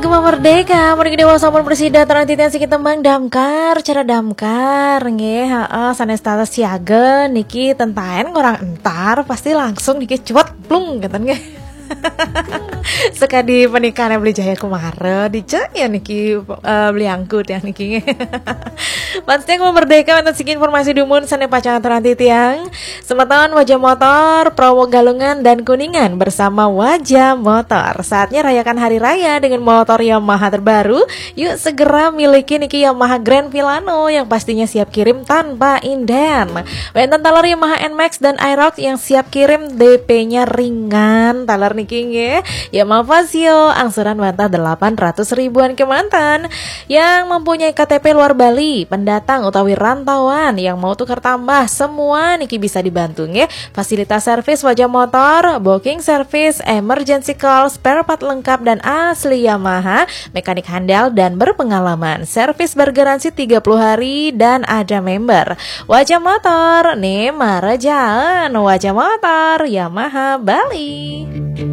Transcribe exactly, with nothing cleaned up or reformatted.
Gema Merdeka, mriki Dewa sampun prasida, titiang siki tembang damkar, cara damkar nggih, heeh, sanés tatas siaga niki, tentaen ngorang entar pasti langsung niki cuet plung ngeten nggih. Sekadi pernikahan Beli Jaya Kumara, dicek ya niki, eh, Beli Angku tiang niki nggih. Pasti Gema Merdeka, wonten siki informasi dumun sané pacang aturang titiang. Semeton Wajah Motor, Prowo, Galungan, dan Kuningan bersama Wajah Motor. Saatnya rayakan Hari Raya dengan motor Yamaha terbaru. Yuk segera miliki niki Yamaha Grand Filano yang pastinya siap kirim tanpa inden. Wénten taler Yamaha Nmax dan Aerox yang siap kirim, D P-nya ringan. Taler niki nggih. Yamaha Fazzio angsuran wantah delapan ratus ribuan kemanten. Yang mempunyai K T P luar Bali, pendatang utawi rantauan yang mau tukar tambah, semua niki bisa dibantu nggih. Fasilitas servis Wajah Motor, booking service, emergency call, spare part lengkap dan asli Yamaha, mekanik handal dan berpengalaman. Servis bergaransi tiga puluh hari dan ada member. Wajah Motor, nih marejaan. Wajah Motor, Yamaha Bali.